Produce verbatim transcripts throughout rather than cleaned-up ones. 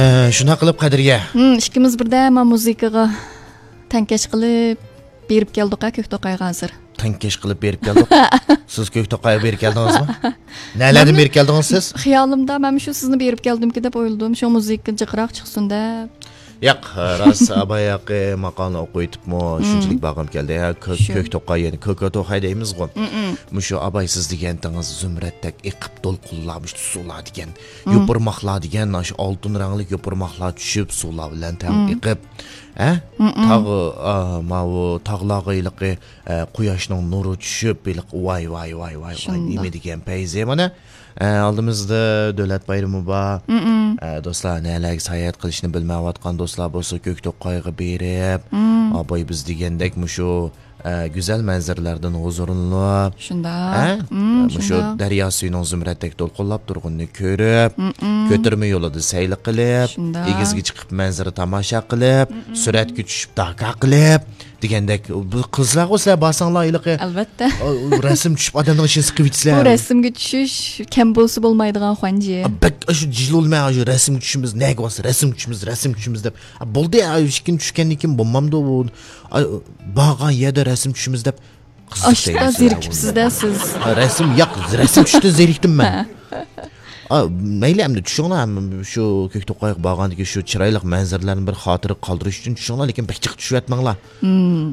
ئە، شۇنداق قىلىپ، قەدرىيە. ھىم، ئىككىمىز بىردەم مۇزىكىغا تەڭكەش قىلىپ بېرىپ كەلدۇق ھە، كۆكتوقايغا ھازىر. تەڭكەش قىلىپ بېرىپ كەلدۇق. سىز كۆكتوقايغا بېرىپ كەلدىڭىزمۇ؟ نەلەردىن مەنمۇ بېرىپ كەلدىڭىز سىز؟ خىيالىمدا مەنمۇ شۇ سىزنى بېرىپ كەلدىمكى دەپ ئويلىدىم. شۇ مۇزىكا جىقراق چىقسۇن دەپ. ياق، راست، ئاباي ھەققى ماقالىنى ئوقۇۋېتىپمۇ، شۇنچىلىك بارغۇم كەلدى. ھە، كۆ-، شۇ. كۆكتوقاي، يەنى كۆكتوقاي دەيمىزغۇ. مۇشۇ ئاباي سىز دېگەنتىڭىز زۇمرەتتەك ئېقىپ دولقۇنلار، مۇشۇ سۇلار دېگەن، يوپۇرماقلار دېگەن، ئاشۇ ئالتۇن رەڭلىك يوپۇرماقلار چۈشۈپ، سۇلار بىلەن تەڭ ئېقىپ، ھە؟ تاغ، ئا، ماۋۇ تاغلارغا ھېلىقى، ئە، قۇياشنىڭ نۇرى چۈشۈپ، ھېلىقى ۋاي، ۋاي، ۋاي، ۋاي، ۋاي، نېمە دېگەن پەيزى مانا. ئە، ئالدىمىزدا دۆلەت بايرىمى بار. ئە، دوستلار، نەلەرگە ساياھەت قىلىشنى بىلمەيۋاتقان دوستلار بولسا، كۆكتوقايغا بېرىپ، ئاباي بىز دېگەندەك مۇشۇ، ئە، گۈزەل مەنزىرىلەردىن ھۇزۇرلىنىپ، شۇنداق. ئە، مۇشۇ دەريا سۈيىنىڭ زۇمرەتتەك دولقۇنلاپ تۇرغىنىنى كۆرۈپ، كۆتۈرمە يولىدا سەيلە قىلىپ، شۇنداق. ئېگىزگە چىقىپ مەنزىرە تاماشا قىلىپ، سۈرەتكە چۈشۈپ داكا قىلىپ، دېگەندەك، بۇ قىلسىلەرغۇ سىلەر بارساڭلار ھېلىقى، ئەلۋەتتە. ئۇ، ئۇ رەسىم چۈشۈپ ئادەمنىڭ ئىچىنى سىقىۋېتىسىلەر. بۇ رەسىمگە چۈشۈش كەم بولسا بولمايدىغان خۇەنجى. ئا، بەك ئاشۇ جىلولىمەن، ئاشۇ رەسىمگە چۈشىمىز، نەگە بارسا رەسىمگە چۈشىمىز، رەسىمگە چۈشىمىز دەپ. ئا، بولدى، ئا، ئىككىنچى چۈشكەندىن كېيىن بولمامدۇ بۇ؟ ئا، بارغان يەردە رەسىم چۈشىمىز دەپ قىزىق ئاشتا دەيمىز سىلەر زېرىكىپسىز-دە بۇنى. سىز. ئا، رەسىم، ياق، رەسىم چۈشۈشتىن زېرىكتىم مەن. ئا، مەيلى، ئەمدى چۈشۈڭلار، ھەم شۇ كۆكتوقايغا بارغاندىكى شۇ چىرايلىق مەنزىرىلەرنى بىر خاتىرە قالدۇرۇش ئۈچۈن چۈشۈڭلار، لېكىن بەك جىق چۈشۈۋەتمەڭلار.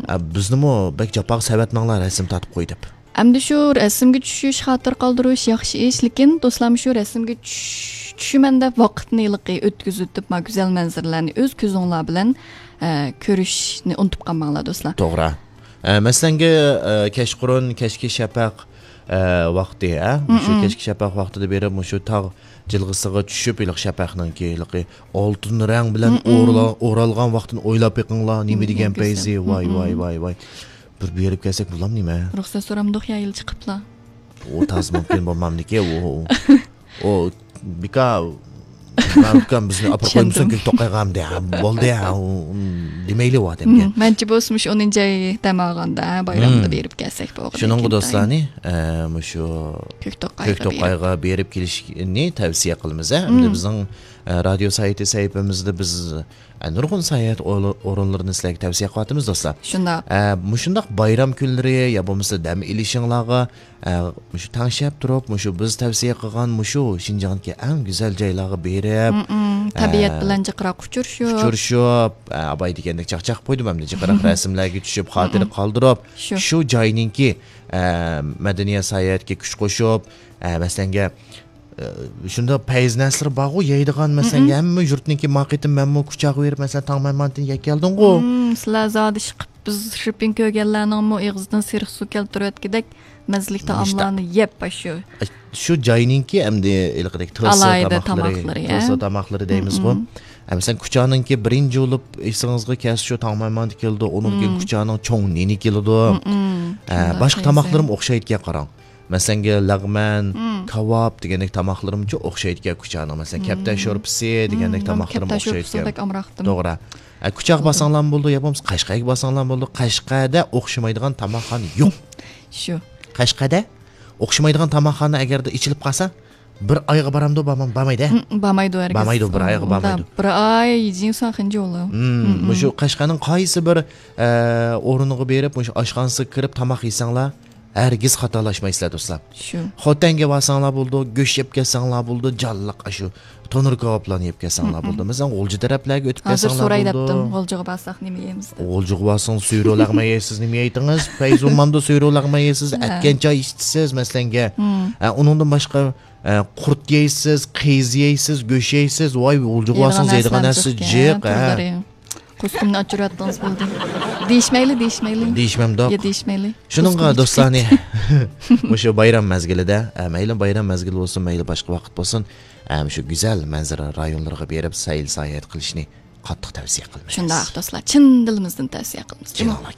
ئا، بىزنىمۇ بەك جاپاغا سەۋەتمەڭلار، رەسىم تارتىپ قوي دەپ. ئەمدى شۇ رەسىمگە چۈشۈش، خاتىرە قالدۇرۇش ياخشى ئىش، لېكىن دوستلار، شۇ رەسىمگە چۈش-، چۈشىمەن دەپ ۋاقىتنى ھېلىقى ئۆتكۈزۈۋېتىپ، ما گۈزەل مەنزىرىلەرنى ئۆز كۆزۈڭلار بىلەن، ئە، كۆرۈشنى ئۇنتۇپ قالماڭلار، دوستلار. توغرا. ئە، مەسىلەنگە، ئە، كەچقۇرۇن، كەچكى شەپەق، ئە، ۋاقتى، ئە، مۇشۇ كەچكى شەپەق ۋاقتىدا بېرىپ، مۇشۇ تاغ جىلغىسىغا چۈشۈپ، ھېلىقى شەپەقنىڭكى ھېلىقى ئالتۇن رەڭ بىلەن ئورىلا-، ئورالغان ۋاقتىنى ئويلاپ بېقىڭلار، نېمە دېگەن پەيزى، ۋاي، ۋاي، ۋاي، ۋاي. بىر بېرىپ كەلسەك بولامدۇ نېمە؟ رۇخسەت سورامدۇق يا يىل چىقىپلا؟ ئۇ تازا مۇمكىن بولمامدىكى، ئۇ، ئۇ، ئۇ، بىكا، ئۇكام بىزنى ئاپىرىپ قويمىسۇن، چۈشەندىم. كۆكتوقايغا ئەمدى، ھە، بولدى، ھە، ئۇ، ئۇ، دېمەيلى، ئۇ ئادەمگە. مم، مەنچە بولسىمۇ شۇ ئونىنچى ئاي دەم ئالغاندا، بايرامدا بېرىپ كەلسەك بولغۇدەك. شۇنىڭغا دوستلارنى، ئە، مۇشۇ كۆكتوقايغا بېرىپ كېلىشنى تەۋسىيە قىلىمىز، ھە. ئەمدى بىزنىڭ، ئە، رادىيو سايتى سەھىپىمىزدە بىز، ئە، نۇرغۇن ساياھەت ئورۇنلىرىنى سىلەرگە تەۋسىيە قىلىۋاتىمىز، دوستلار. شۇنداق. ئە، مۇشۇنداق بايرام كۈنلىرى يا بولمىسا دەم ئېلىشىڭلارغا ئە، مۇشۇ تەڭشەپ تۇرۇپ، مۇشۇ بىز تەۋسىيە قىلغان مۇشۇ شىنجاڭدىكى ئەڭ گۈزەل جايلارغا بېرىپ، مم، تەبىئەت ئە، بىلەن جىقراق ئۇچرىشىپ. ئۇچرىشىپ، ئە، ئاباي دېگەندەك چاقچاق قويدۇم ئەمدى، جىقراق رەسىملەرگە چۈشۈپ، خاتىرە قالدۇرۇپ، شۇ. شۇ جاينىڭكى، ئە، مەدەنىيەت ساياھەتكە كۈچ قوشۇپ، ئە، مەسىلەنگە، ئە، شۇنداق پەيز نەرسىلىرى بارغۇ، يەيدىغان، مەسىلەنگە، ھەممە يۇرتنىڭكى، ما قېتىم مەنمۇ كۇچاغا بېرىپ، مەسىلەن، تاڭ مەمانتىنى يەپ كەلدىڭغۇ. مم، سىلەر زادى ئىشقىپ بىز شىرپىن كۆرگەنلەرنىڭمۇ ئېغىزىدىن سېرىق سۇ كەلتۈرۈۋەتكۈدەك مەززىلىك تائاملارنى يەپ، شۇ. شۇ جاينىڭكى ئەمدى ھېلىقىدەك تىلسا ئالاھىدە تاماقلىرى، تاماقلىرى، تىلسا تاماقلىرى دەيمىزغۇ. مم. ئە، مەسىلەن، كۇچانىڭكى بىرىنچى بولۇپ ئېسىڭىزغا كەلسە، شۇ تاڭ مەمانتى كېلىدۇ، ئۇنىڭدىن كېيىن كۇچانىڭ چوڭ نېنى كېلىدۇ. مم. ئە، شۇنداق باشقا تاماقلىرىمۇ ئوخشايدىكەن، قاراڭ. مەسىلەنگە، لەغمەن، كاۋاپ دېگەندەك تاماقلىرىمچۇ ئوخشايدىكەن كۇچانىڭ. مەسىلەن، كەپتەر شورپىسى دېگەندەك تاماقلىرىمۇ ئوخشايدىكەن. توغرا. ئە، كۇچاغا بارساڭلارمۇ بولىدۇ، يا بولمىسا قەشقەرگە بارساڭلارمۇ بولىدۇ. قەشقەردە ئوخشىمايدىغان تاماقخانا يوق. شۇ. قەشقەردە ئوخشىمايدىغان تاماقخانا ئەگەردە ئېچىلىپ قالسا، بىر ئايغا بارامدۇ، بارمام-، بارمايدۇ، ھە؟ مم، بارمايدۇ ھەرگىز. بارمايدۇ، بىر ئايغا بارمايدۇ. بىر ئاي يېجىڭساخىنجى بولۇ. مم، مم. مۇشۇ قەشقەرنىڭ قايسى بىر، ئە، ئورنىغا بېرىپ، مۇشۇ ئاشخانىسىغا كىرىپ تاماق يېسەڭلار، ھەرگىز خاتالاشمايسىلەر، دوستلار. شۇ. خوتەنگە بارساڭلار بولىدۇ، گۆش يەپ كەلسەڭلار بولىدۇ، جانلىق ئاشۇ تونۇر كاۋاپلارنى يەپ كەلسەڭلار بولىدۇ. مەسىلەن، غۇلجا تەرەپلەرگە ئۆتۈپ كەلسەڭلار بولىدۇ. ھازىر سوراي دەپتىم، غۇلجىغا بارساق نېمە يەيمىز دەپ. غۇلجىغا بارساڭ سۈرە لەغمەن يەيسىز، نېمە يەيتىڭىز؟ پەيزۇممامدا سۈرە لەغمەن يەيسىز، ئەتكەن چاي ئىچىسىز، مەسىلەنگە. ھە، ئۇنىڭدىن باشقا، ئە، قۇرت يەيسىز، قىز يەيسىز، گۆش يەيسىز. ۋاي، غۇلجىغا بارسىڭىز يەيدىغان نەرسە جىق، ھە. قۇسقۇمنى ئاچۇرۇۋەتتىڭىز، بولدى. دېيىشمەيلى، دېيىشمەيلى. دېيىشمەمدۇق. يا، دېيىشمەيلى. شۇنىڭغا دوستلارنى مۇشۇ بايرام مەزگىلىدە، ئە، مەيلى بايرام مەزگىلى بولسۇن، مەيلى باشقا ۋاقىت بولسۇن، ئە، مۇشۇ گۈزەل مەنزىرە رايونلىرىغا بېرىپ سەيل ساياھەت قىلىشنى قاتتىق تەۋسىيە قىلىمىز. شۇنداق، دوستلار، چىن دىلىمىزدىن تەۋسىيە قىلىمىز. كېلىڭلار،